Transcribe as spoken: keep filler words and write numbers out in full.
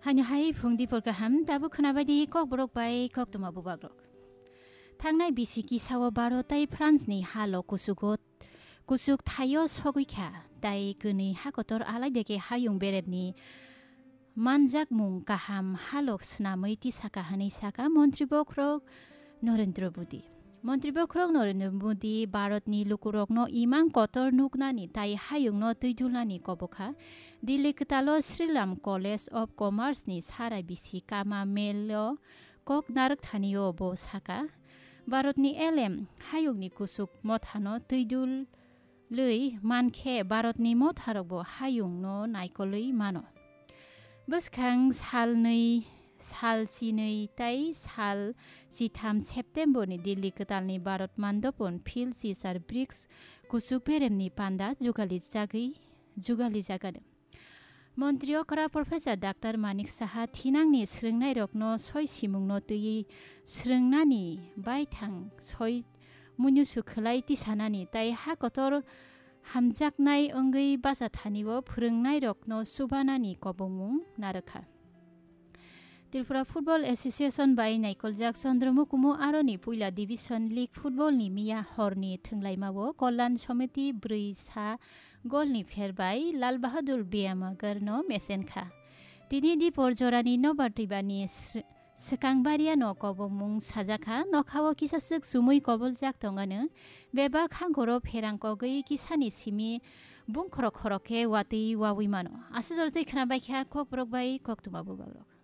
Haino hai phung dipor kaham, tabuk khwnabai di kokborok bai koktwma bubagrok. Thangnai bisi kisao Bharat tei France ni halo kusugo, kusuk thaio sogwi kha, tei kwnwi hakotor alaideke hayung berepni manjakmung kaham halok swnamwi tisaka hwnwi saka Montri Bokhorok Narendra Modi. Montri Bokhorok Narendra Modi Bharatni lukurokno imang kotor nuknani tei hayungno twi dulnani kobokha. Delhi kwtalo Sriram College of Commerce ni sara bisi kama melo kok narwk thanio bo saka, Bharatni elem hayungni kusuk mothano twi dul lwi mankhe Bharatni motharokbo hayungno naikolwi mano. Bwskang salnwi, sal chinwi tei sal chitham September ni Delhi kwtalni Bharat Mandopon Phil Sisar brics kuchuk beremni panda jugali jagwi, jugali jagano. Montri okra Professor Doctor Manik Saha thinangni srwngnairokno soi simungno twiwi srwngnani baithang soi munusu khwlai tisanani tei ha kotor hamjaknai wngwi bacha thani-o phwrwngnairokno chubanani kobongmung narwkha. Tripura Football Association bai naikoljak Chandra Mukumu aroni puila Division League football ni miya horni thwnglaimao Kollan Somiti brwi sa golni pher bai Lal Bahadur Biyamagarno mesenkha. Tini dipor jorani nobar twibani sr-, swkang bariano kobomung sajakha, nokhao kisaswk chumui koboljak tongano, bebak hangkoro pherang kogwi kisani simi bungkhorok khorok khe watwi wawi mano. Aswk jorotwi khwnabaikha kokborok bai koktwma bubagrok.